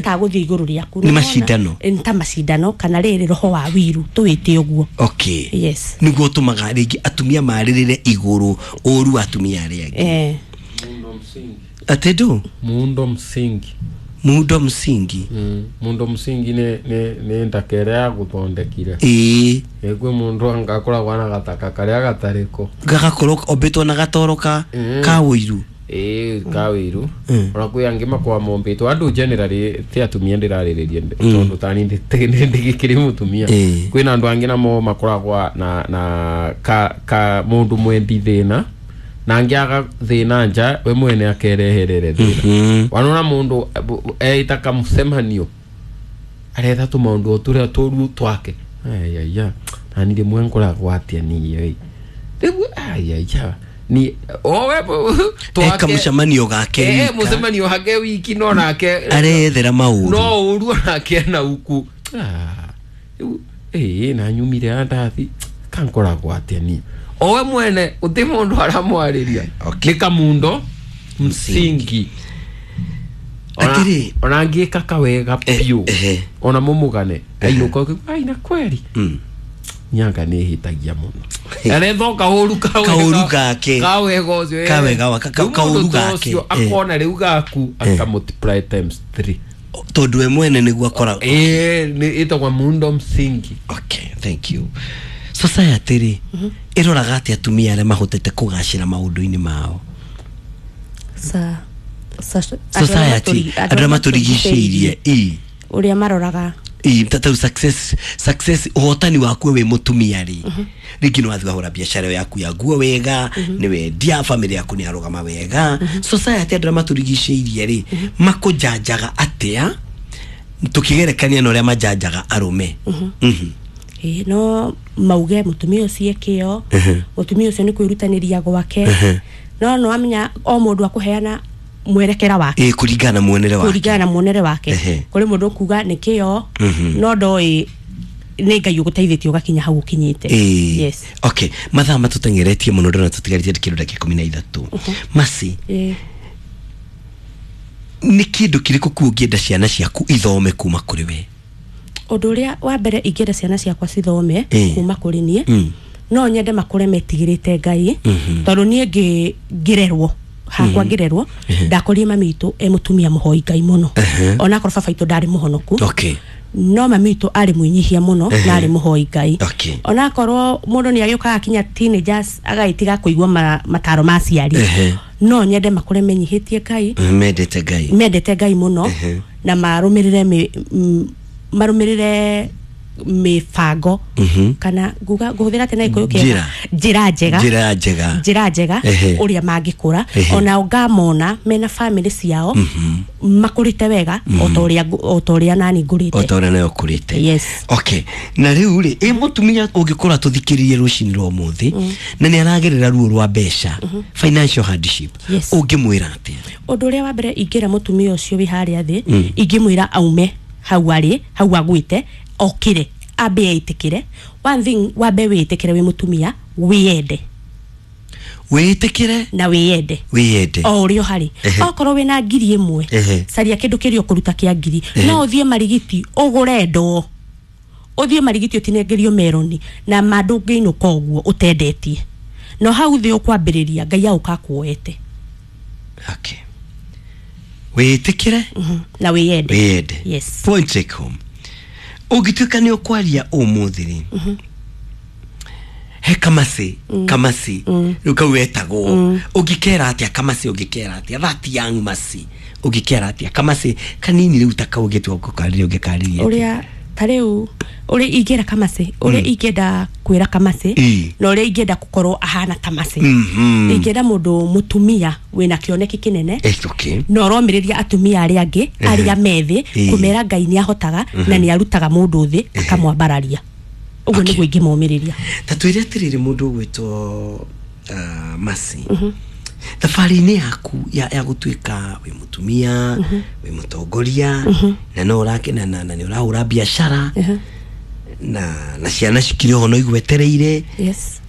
Speaker 3: taguthie iguru riaku
Speaker 1: ni macindano
Speaker 3: ni ta macindano kana riri roho wa wiru tuwite uguo.
Speaker 1: Okay.
Speaker 3: Yes.
Speaker 1: Niguo tumaga ringi atumia maririre iguru uru atumia aria angi.
Speaker 3: Eh.
Speaker 2: Muundo msingi.
Speaker 1: Atedu
Speaker 2: muundo msingi.
Speaker 1: Muundo msingi.
Speaker 2: Mm. Muundo msingi ne ne ne ndakere guthondekire.
Speaker 1: Ii.
Speaker 2: Egwe mundu angakoragwo na gataka karia gatariko.
Speaker 1: Gagakorwo ombitwo na gatoro ka
Speaker 2: mm.
Speaker 1: ka wiru.
Speaker 2: Ii ka wiru.
Speaker 1: Mm.
Speaker 2: Ona kwi angi makwa mombitwo andu generally ti atumia ndirariririe
Speaker 1: Mm.
Speaker 2: tondu tani ndigikiri mutumia.
Speaker 1: Mm.
Speaker 2: Kwina andu angi namo makoragwo na na ka ka mundu mwendi thina na angiaga thina nja we mwene akereherere thina.
Speaker 1: Mm -hmm.
Speaker 2: Wanona mundu eita kamucemanio aretha tu maundu turia turu twake ayaya na ni rimwe nkoragwo atia ni ĩ riu ayaya ni owe
Speaker 1: twake eka mucemanio gake
Speaker 2: eh mucemanio hake wiki no nake
Speaker 1: arethera mauru
Speaker 2: no uru nake na uku ah riu eh na nyumire andathi kankoragwo atia ni owe mwene uti mundu aramwariria.
Speaker 1: Okay.
Speaker 2: Ni kamundo msingi.
Speaker 1: Atiri
Speaker 2: ona ngika kawega piu
Speaker 1: eh,
Speaker 2: ona mumugane ainuka ai na kweri
Speaker 1: mm.
Speaker 2: Nyanga ni hitagia muno arethoka huru kawega
Speaker 1: kauru gake
Speaker 2: kawega ucio
Speaker 1: kawega kauru gake
Speaker 2: akona riu gaku aka multiply times three
Speaker 1: tondu we mwene niguo akora
Speaker 2: eh ni itagwa muundo msingi.
Speaker 1: Okay, thank you. Society ri iroraga atia atumia aria mahotete kugacira maundu-ini mao?
Speaker 3: Sa
Speaker 1: society andu aria maturigicĩirie i
Speaker 3: uria maroraga
Speaker 1: i tata success success uhotani waku we mutumia ri ringi no wathi wahura biacara yaku ya nguo wega ni wendia family yaku ni arugama wega. Society andu aria maturigicĩirie ri makujanjaga atia tukigerekania na uria majanjaga arume? Mhm.
Speaker 3: Eh no mauge mutumia ucio kio mutumia ucio ni kwirutaniria gwake no no amenya o mundu akuheana mwerekera wake
Speaker 1: eh kuringana muonere wake
Speaker 3: kuringana muonere wake kuri mundu kuga ni kio no ndoi ni Ngai uguteithitie ugakinya hau ukinyite. Yes.
Speaker 1: Okay, mathaa matutengeretie muno ndona tutigarite kindu ndagika ikumi na ithatu. Masi ni kindu kiriku ku ungienda ciana ciaku ithome kuma kuri we?
Speaker 3: Undu uria wa mbere ingĩenda ciana ciakwa cithome kuma kuri nie no nyende makure metigirite Ngai tondu nie ngirerwo hakwa ngirerwo ndakorie mami witũ e mutumia muhoi Ngai muno ona korwo baba witũ ndari muhonoku.
Speaker 1: Okay.
Speaker 3: No mami witũ ari mwinyihia muno na ari muhoi Ngai.
Speaker 1: Okay.
Speaker 3: Ona korwo mundu ni agiukaga kinya teenagers agagitiga kuigua mataro ma aciari no nyende makure menyihitie Ngai
Speaker 1: mendete Ngai
Speaker 3: mendete Ngai muno na marumirire marumirire mibango kana nguga nguhuthira tena ikuyu kiega njira njega
Speaker 1: njira njega
Speaker 3: njira njega uria mangikura ona ngamona mena family ciao makurite wega o toria o toria nani ngurite
Speaker 1: o toria nayo kurite.
Speaker 3: Yes.
Speaker 1: Okay, na riu ri i mutumia ungikora tuthikiririe rucini rwa muthi na ni aragerera ruo rwa mbeca financial hardship ungimwira atia?
Speaker 3: Undu uria wa mbere ingira mutumia ucio wi haria thi ingimwira aume hau ari hau agwite okire ambe eitikire. One thing wambe witikire wi mutumia wiyende
Speaker 1: witikire
Speaker 3: na wiyende
Speaker 1: wiyende
Speaker 3: o urio hari okorwo wina ngiri imwe caria kindu kiria ukuruta kia ngiri no uthie marigiti ugure ndoo uthie marigiti utinengerio meroni na mandu ngiinuka uguo utendetie no hau thi ukwambiriria Ngai auka kuoete.
Speaker 1: Okay, witikire
Speaker 3: na wiyende
Speaker 1: wiyende.
Speaker 3: Yes.
Speaker 1: Point take home ungituika ni ukwaria umuthi ri He kamasi kamasi rĩu kau wetagwo ũngĩkera atĩa kamasi ũngĩkera atĩa that young masi ũngĩkera atĩa kamasi kanini rĩu ta kau ũngĩtua gũkarĩria ũngĩkarĩria atĩa?
Speaker 3: Ũrĩa ta rĩu ũrĩa ingĩra kamacĩ ũrĩa ingĩenda kwĩra kamacĩ
Speaker 1: Ĩ.
Speaker 3: na ũrĩa ingĩenda gũkorwo ahana ta macĩ
Speaker 1: Mhm.
Speaker 3: ingĩenda mũndũ mũtumia wĩna kĩoneki kĩnene
Speaker 1: It's okay.
Speaker 3: na ũromĩrĩria atumia arĩa angĩ arĩa methĩ
Speaker 1: Ĩ.
Speaker 3: kũmera Ngai nĩ ahotaga na nĩ arutaga mũndũ thĩ akamwambararia ũguo
Speaker 1: Okay.
Speaker 3: nĩguo ingĩmomĩrĩria.
Speaker 1: Ta twĩre atĩrĩrĩ mũndũ ũgwĩtwo uh, masi thabarĩ-inĩ yaku ya, ya gũtuĩka wĩ mũtumia wĩ mũtongoria na no ũrake na, na, na nĩ ũrahũra biacara na, na ciana cikĩrĩ oho no igwetereire
Speaker 3: Yes.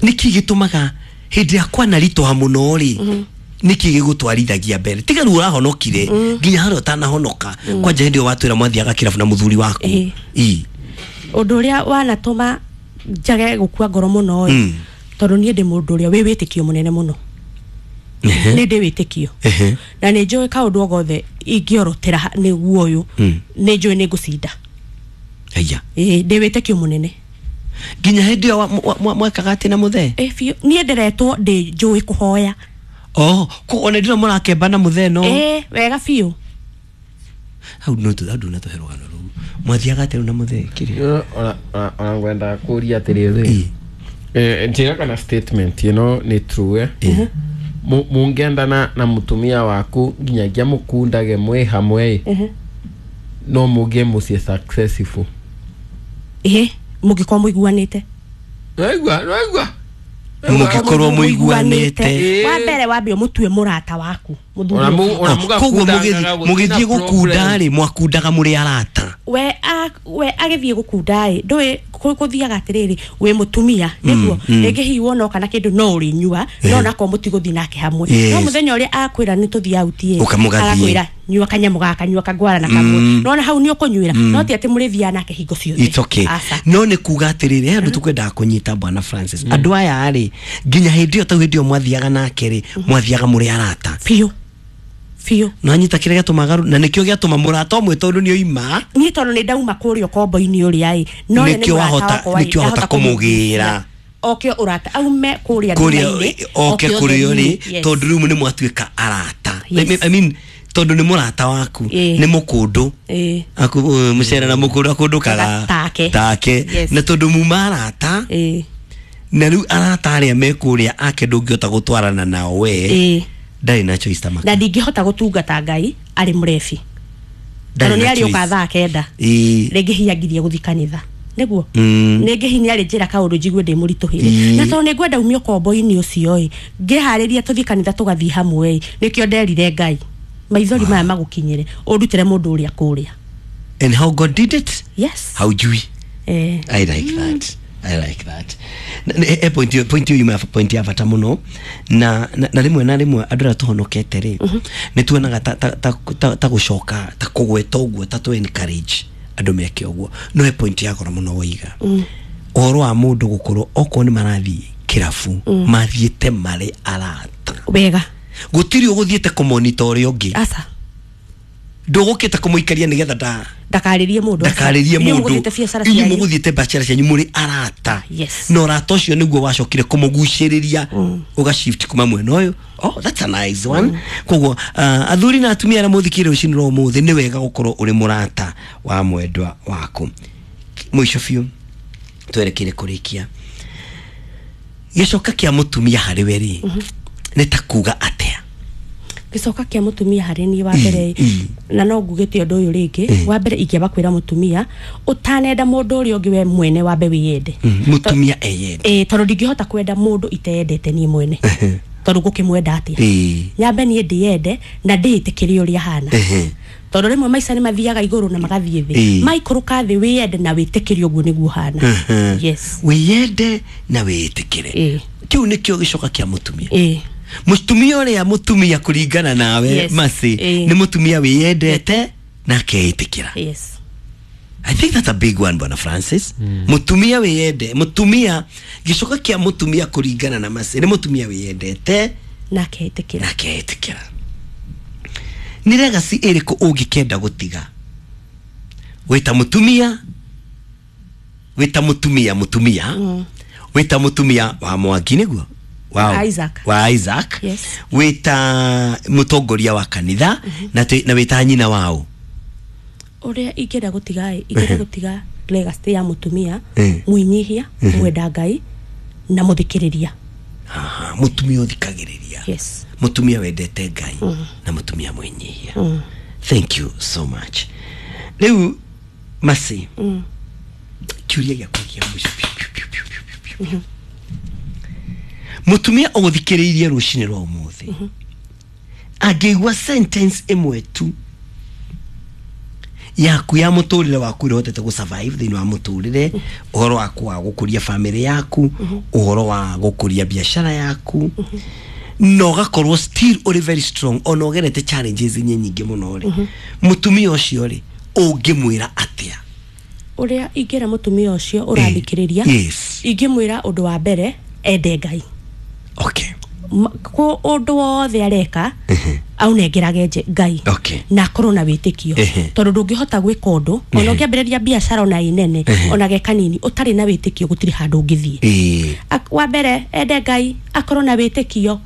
Speaker 1: nĩkĩ gĩtũmaga hĩndĩ ĩrĩa kwanaritũha mũno rĩ nĩkĩ gĩgũtwarithagia mbere tiga rĩu ũrahonokire nginya harĩa ũtanahonoka kwanja hĩndĩ ĩyo watwĩra mwathiaga kĩrabu na mũthuri waku.
Speaker 3: Ĩ.
Speaker 1: Ĩ.
Speaker 3: Ũndũ ũrĩa wanatũma njage gũkua ngoro mũno ĩ
Speaker 1: Mm.
Speaker 3: tondũ niĩ ndĩ mũndũ ũrĩa wĩ wĩtĩkio mũnene mũno.
Speaker 1: Ehe.
Speaker 3: Nĩ ndĩ wĩtĩkio
Speaker 1: Ehe.
Speaker 3: na nĩ njũĩ kaũndũ o gothe ingĩorotera ha- nĩguo ũyũ
Speaker 1: Mm.
Speaker 3: nĩ njũĩ nĩ ngũcinda.
Speaker 1: Aya.
Speaker 3: Ĩ ndĩ wĩtĩkio mũnene.
Speaker 1: Nginya hĩndĩ ĩyo wa- mwa- mwa- mwekaga atĩ na mũthee?
Speaker 3: Ĩ biũ niĩ ndĩretwo ndĩ njũĩ kũhoya.
Speaker 1: Oh, ko ona ndĩro mũrakemba na mũthee no
Speaker 3: Ĩ wega biũ.
Speaker 1: Hau no tu hau ndunatũhe rũgano rũu mwathiaga atĩ rĩu na mũthee kĩrĩa?
Speaker 2: Ona ona- ona ngwendaga kũria atĩrĩrĩ
Speaker 1: Ĩ.
Speaker 2: eh, njĩra kana statement ĩno nĩ true eh? Mu- mũngĩendana na mũtumia waku nginyagia mũkundage mwĩ hamwe ĩ no mũgĩe mũciĩ successful.
Speaker 3: Ĩ mũngĩkorwo mũiguanĩte.
Speaker 2: Nwaigua nwaigua
Speaker 1: Mũngĩkorwo mũiguanĩte.
Speaker 2: Ĩ.
Speaker 3: Wa mbere wambe ũmũtue mũrata waku mũthuri
Speaker 2: Ona mu-
Speaker 3: ũcio.
Speaker 2: ona
Speaker 1: Oh, koguo
Speaker 2: mũgakundangaga
Speaker 1: mũgĩthiĩ
Speaker 2: gũtirĩ
Speaker 1: mũgĩthiĩ
Speaker 2: na
Speaker 1: gũkunda
Speaker 2: problem.
Speaker 1: rĩ mwakundaga mũrĩ arata.
Speaker 3: We a- we agĩthiĩ gũkunda ĩ ndũĩ kũ- gũthiaga atĩrĩrĩ wĩ mũtumia nĩguo rĩngĩ hihi wona kana kĩndũ no ũrĩnyua no onakorwo mũtigũthiĩ nake hamwe
Speaker 1: Yes.
Speaker 3: no mũthenya ũrĩa akwĩra nĩ tũthiĩ out ĩ
Speaker 1: Ũka mũgathiĩ.
Speaker 3: agakwĩra nyua kanyamũ gaka nyua kangwara na kamwe nona hau nĩ ũkũnyuĩra no ti atĩ mũrĩthiaga nake hingo ciothe.
Speaker 1: It's okay.
Speaker 3: Aca.
Speaker 1: No nĩ kuga atĩrĩrĩ he andũ tũkwendaga kũnyita bwana Francis andũ aya rĩ nginya hĩndĩ ĩyo tau hĩndĩ ĩyo mwathiaga nake rĩ mwathiaga mũrĩ arata.
Speaker 3: Biũ biũ.
Speaker 1: Nanyita kĩrĩa gĩatũmaga rũ- na nĩkĩo gĩatũma mũrata ũmwe tondũ nĩ oima
Speaker 3: Niĩ tondũ nĩ ndauma kũrĩa ũkombo-inĩ ũrĩa ĩ no we nĩ
Speaker 1: Nĩkĩo
Speaker 3: mũrata
Speaker 1: wahota-
Speaker 3: wakwa ĩ,
Speaker 1: nĩkĩo wahota
Speaker 3: ndahota
Speaker 1: kũmũgĩra.
Speaker 3: Oke ũrata aume kũrĩa
Speaker 1: kũrĩa
Speaker 3: nduma-inĩ,
Speaker 1: oke kũrĩa ũrĩ
Speaker 3: ũtheri-inĩ. Yes.
Speaker 1: tondũ rĩu nĩ mwatuĩka arata.
Speaker 3: Yes.
Speaker 1: I mean tondũ nĩ mũrata waku
Speaker 3: Ĩ.
Speaker 1: nĩ mũkũndũ
Speaker 3: Ĩ.
Speaker 1: Aku uh, mũcere na mũkũndũ akũndũkaga
Speaker 3: Take.
Speaker 1: take
Speaker 3: Yes.
Speaker 1: na tondũ muma arata
Speaker 3: Ĩ.
Speaker 1: na rĩu arata arĩa me kũrĩa ake ndũngĩhota gũtwarana nao we
Speaker 3: Ĩ.
Speaker 1: ndarĩ na choice ta maka
Speaker 3: Na ndingĩhota gũtungata Ngai arĩ mũrebi
Speaker 1: Ndarĩ
Speaker 3: tondũ nĩ
Speaker 1: na
Speaker 3: arĩũka
Speaker 1: choice.
Speaker 3: thaa kenda
Speaker 1: Ĩ.
Speaker 3: rĩngĩ hihi angirie gũthiĩ kanitha nĩguo
Speaker 1: Mm.
Speaker 3: rĩngĩ hihi nĩ arĩ njĩra kaũndũ njigue ndĩ mũritũhĩre
Speaker 1: Ĩ.
Speaker 3: na tondũ nĩ ngwenda umie ũkombo-inĩ ũcio ĩ ngĩharĩria tũthiĩ kanitha tũgathiĩ hamwe ĩ nĩkĩo nderire Ngai maithori maya magũkinyĩre ũndutĩre mũndũ ũrĩa kũrĩa.
Speaker 1: And how God did it
Speaker 3: Yes.
Speaker 1: haujui.
Speaker 3: Eh.
Speaker 1: I like that. I like that. Na- na- e point hiyo point hiyo yuma point ya bata muno na na, na rimwe na rimwe andu aria tuhonokete ri ni tuonaga ta ta ta, ta, ta gucoka ta kugweta uguo ta tu encourage andu meke uguo no he point ya goro muno woiga uhoro wa mundu gukorwo okorwo ni marathie kirabu mathiete mari arata
Speaker 3: Wega.
Speaker 1: gutiri uguthiete kumonita uria ungi
Speaker 3: Aca.
Speaker 1: ndugukite kumuikaria nigetha nda
Speaker 3: Ndakarĩrie mũndũ aca.
Speaker 1: ndakarĩrie
Speaker 3: Inyuĩ
Speaker 1: mũndũ
Speaker 3: mũgũthiĩte biacara
Speaker 1: inyuĩ
Speaker 3: cianyu.
Speaker 1: mũgũthiĩte biacara cianyu mũrĩ arata.
Speaker 3: Yes.
Speaker 1: Na ũrata ũcio nĩguo wacokire kũmũgucĩrĩria ũga shift kuma mwena ũyũ. Oh, that's a nice one. Koguo uh, athuri na atumia arĩa mũthikĩrĩria rũcinĩ rwa ũmũthĩ nĩ wega gũkorwo ũrĩ mũrata wa mwendwa waku. Mũico biũ twerekeire kũrĩkia gĩcoka kĩa mũtumia harĩ we rĩ nĩ ta kuga atĩa?
Speaker 3: Gĩcoka kĩa mũtumia harĩ niĩ wa mbere
Speaker 1: Mm,
Speaker 3: na no ngugĩte ũndũ ũyũ rĩngĩ wa mbere ingĩamba kwĩra mũtumia ũtanenda mũndũ ũrĩa ũngĩ we mwene wambe wĩyende.
Speaker 1: Mm, mũtumia eyende.
Speaker 3: Ĩ tondũ ndingĩhota kwenda mũndũ iteyendete niĩ mwene tondũ ngũkĩmwenda atĩa?
Speaker 1: Ĩ.
Speaker 3: Nyambe niĩ ndĩyende na ndĩĩtĩkĩre ũrĩa hana
Speaker 1: Ehe.
Speaker 3: tondũ rĩmwe maica nĩ mathiaga igũrũ na magathiĩ
Speaker 1: Ĩ.
Speaker 3: thĩ maikũrũka thĩ wĩyende na wĩtĩkĩre ũguo nĩguo hana. Yes.
Speaker 1: Wĩyende na wĩĩtĩkĩre.
Speaker 3: Ĩ.
Speaker 1: Kĩu nĩkĩo gĩcoka kĩa mũtumia.
Speaker 3: Ĩ.
Speaker 1: Mũtumia ũrĩa mũtumia kũringana nawe
Speaker 3: Yes.
Speaker 1: Mercy
Speaker 3: Ĩ.
Speaker 1: nĩ mũtumia wĩyendete na akeĩtĩkĩra.
Speaker 3: Yes.
Speaker 1: I think that's a big one bwana Francis. Mũtumia wĩyende mũtumia gĩcoka kĩa mũtumia kũringana na Mercy nĩ mũtumia wĩyendete
Speaker 3: Na akeĩtĩkĩra.
Speaker 1: na akeĩtĩkĩra. Nĩ legacy ĩrĩkũ ũngĩkenda gũtiga wĩta mũtumia wĩta mũtumia mũtumia Wĩta mũtumia wa Mwangi nĩguo? Wa
Speaker 3: Isaac.
Speaker 1: Wa Isaac.
Speaker 3: Yes.
Speaker 1: Wĩta mũtongoria wa kanitha na twĩ- na wĩta nyina wao.
Speaker 3: Ũrĩa ingĩenda gũtiga ĩ, ingĩenda gũtiga legacy ya mũtumia
Speaker 1: Eh.
Speaker 3: mwĩnyihia, mwenda Ngai na mũthikĩrĩria.
Speaker 1: Aha, mũtumia ũthikagĩrĩria.
Speaker 3: Yes.
Speaker 1: Mũtumia wendete Ngai na mũtumia mwĩnyihia. Thank you so much. Rĩu Masi, kiũria gĩakwa kĩa mũico. Piu, piu, piu, piu, piu, piu, piu. Mũtumia ũgũthikĩrĩirie rũcinĩ rwa ũmũthĩ angĩigua sentence ĩmwe tu yaku ya mũtũrĩre waku ũrĩa ũhotete gũ survive thĩinĩ wa mũtũrĩre, ũhoro waku wa gũkũria famĩlĩ yaku, ũhoro wa gũkũria biacara yaku, na ũgakorwo still ũrĩ very strong ona ũgerete challenges nye nyingĩ mũno rĩ, mũtumia ũcio rĩ, ũngĩmwĩra atĩa?
Speaker 3: Ũrĩa ingĩra mũtumia ũcio ũrathikĩrĩria,
Speaker 1: Yes.
Speaker 3: ingĩmwĩra ũndũ wa mbere ende Ngai.
Speaker 1: Okay
Speaker 3: Ma- kũ ũndũ wothe areka aunengerage nje- Ngai
Speaker 1: Okay.
Speaker 3: na akorwo na wĩtĩkio,
Speaker 1: Ehe.
Speaker 3: tondũ ndũngĩhota gwĩka ũndũ ona ũngĩambĩrĩria biacara ona ĩ nene ona ge kanini ũtarĩ na wĩtĩkio, gũtirĩ handũ ũngĩthiĩ.
Speaker 1: Ĩĩ.
Speaker 3: Ak- wa mbere ende Ngai, akorwo na wĩtĩkio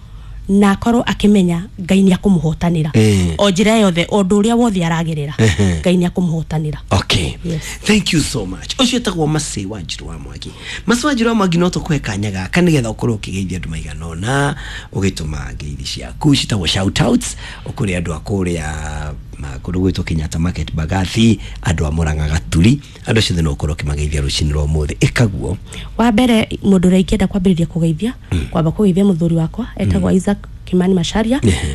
Speaker 3: na akorwo akĩmenya Ngai nĩ akũmũhotanĩra
Speaker 1: Eh.
Speaker 3: o njĩra yothe, ũndũ ũrĩa wothe aragerera,
Speaker 1: Ehe.
Speaker 3: Ngai nĩ akũmũhotanĩra.
Speaker 1: Okay.
Speaker 3: Yes.
Speaker 1: Thank you so much. Ũcio etagwo Masi wa Njiru wa Mwangi. Masi wa Njiru wa Mwangi, no tũkũhe kanya gaka nĩgetha ũkorwo ũkĩgeithia andũ maigana ũna, ũgĩtũma ngeithi ciaku citagwo shout outs ũkũrĩ andũ a kũrĩa ma- kũndũ gwĩtwo Kenyatta Market, Bagathi, andũ a Mũrang'a Gaturi, andũ acio othe no ũkorwo ũkĩmageithia rũcinĩ rwa ũmũthĩ. Ĩkaguo.
Speaker 3: Wa mbere mũndũ ũrĩa ingĩenda kwambĩrĩria kũgeithia, kwamba kũgeithia mũthuri wakwa etagwo Isaac Kimani Macharia.
Speaker 1: Ehe.